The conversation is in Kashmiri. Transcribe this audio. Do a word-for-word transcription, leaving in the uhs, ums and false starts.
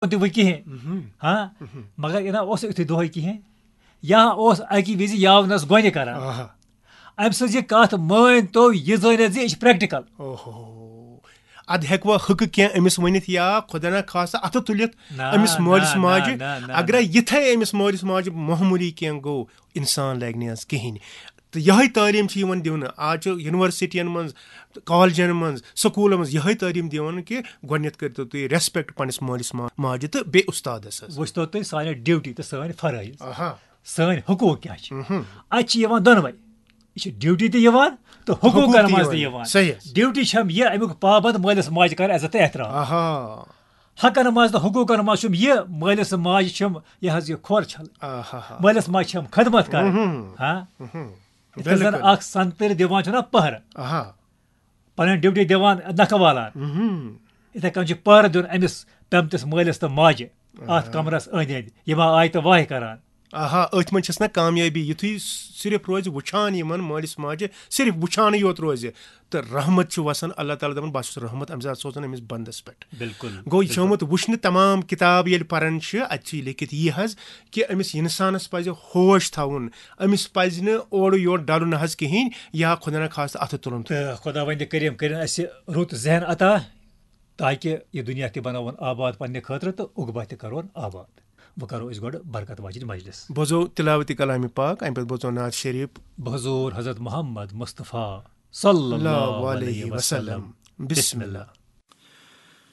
تہِ وۄنۍ کِہیٖنۍ۔ ہاں، مگر یہِ نہ اوس یُتھُے دۄہَے کِہیٖنۍ۔ یا اوس اَکی وِزِ یاونَس گۄنہِ کران۔ آہا۔ أمۍ سٕنٛز یہِ کَتھ مٲنۍ تو، یہِ زٲنِتھ زِ یہِ چھِ practical۔ اوہو۔ اَدٕ ہٮ۪کوا ہُکہٕ کینٛہہ أمِس ؤنِتھ یا خۄدا نہ خاصہ اَتھٕ تُلِتھ نہ، أمِس مٲلِس نہ، ماجہِ؟ نہ، نہ، نہ، اگر نہ۔ یِتھَے أمِس مٲلِس ماجہِ معموٗلی کینٛہہ گوٚو، اِنسان لَگہِ نہٕ حظ کِہیٖنۍ۔ تہٕ یِہوٚے تعلیٖم چھِ یِوان دِونہٕ۔ آز چھِ یونیورسٹیَن منٛز، کالجَن منٛز، سکوٗلَن منٛز یِہوٚے تعلیٖم دِوان کہِ گۄڈٕنٮ۪تھ کٔرۍتو تُہۍ respect پنٛنِس مٲلِس ما-، ماجہِ تہٕ بیٚیہِ اُستادَس حظ۔ وٕچھتو تُہۍ سانہِ duty تہٕ سٲنۍ فرٲیض۔ آہا۔ سٲنۍ حقوٗق کیٛاہ چھِ؟ مہم۔ اَتہِ چھِ یِوان دۄنوَے۔ یہِ چھِ duty تہِ یِوان تہٕ حقوٗق حقوٗق تہِ تہِ یِوان۔ یِوان۔ صحیح حظ۔ Duty چھَم یہِ، اَمیُک پابنٛد مٲلِس ماجہِ کَرٕ عزت تہٕ احترام۔ آہا۔ حقن منٛز تہٕ حقوٗقن منٛز چھُم یہِ، مٲلِس ماجہِ چھُم یہِ حظ یہِ کھۄر چھل۔ آہا۔ مٲلِس ماجہِ چھَم خدمت کَرٕنۍ۔ مہم۔ ہاں؟ مہم۔ یِتھ کٔنۍ زَن بِلکُل۔ اَکھ سنتٕرۍ دِوان چھُنہ پٔہرٕ۔ آہا۔ پَنٕنۍ duty دِوان نَکھٕ والان۔ مہم۔ یِتھَے کٔنۍ چھِ پٔہرٕ دیُن أمِس پیٚمتِس مٲلِس تہٕ ماجہِ اَتھ آہا۔ کمرَس أنٛدۍ أنٛدۍ۔ یِم آیہِ تہٕ واے کران۔ آہا، أتھۍ منٛز چھَس نہ کامیٲبی، یُتھُے صرف روزِ وٕچھان یِمَن مٲلِس ماجہِ، صرف وٕچھانٕے یوت روزِ، تہٕ رحمت چھُ وَسان، اللہ تعالیٰ دَپان، "بہٕ چھُس رحمت اَمہِ ساتہٕ سوزان أمِس بنٛدَس پٮ۪ٹھ۔" بِلکُل، گوٚو، یہِ چھُ بِلکُل۔ آمُت وٕچھنہٕ، تمام کِتاب ییٚلہِ پَران چھِ، اَتہِ چھُ یہِ لیکھِتھ یی حظ کہِ أمِس اِنسانَس پَزِ ہوش تھاوُن، أمِس پَزِ نہٕ اورٕ یورٕ ڈَلُن حظ کِہیٖنۍ، یا خۄدا نہ خاصہٕ اَتھٕ تُلُن۔ تہٕ خۄداوندِ کریٖم کٔرِن اَسہِ رُت ذہن عطا، تاکہِ یہِ دُنیا تہِ بَناوون آباد پننہِ خٲطرٕ تہٕ عقبہ تہِ کَرون آباد۔ وۄنۍ کَرو أسۍ گۄڈٕ برکت واجِنۍ مجلس۔ بوزو تلاوت کلام پاک، اَمہِ پَتہٕ بوزو نعت شریف۔ بحضور حضرت محمد مصطفیٰ صلی اللہ علیہ وسلم۔ بسم اللہ۔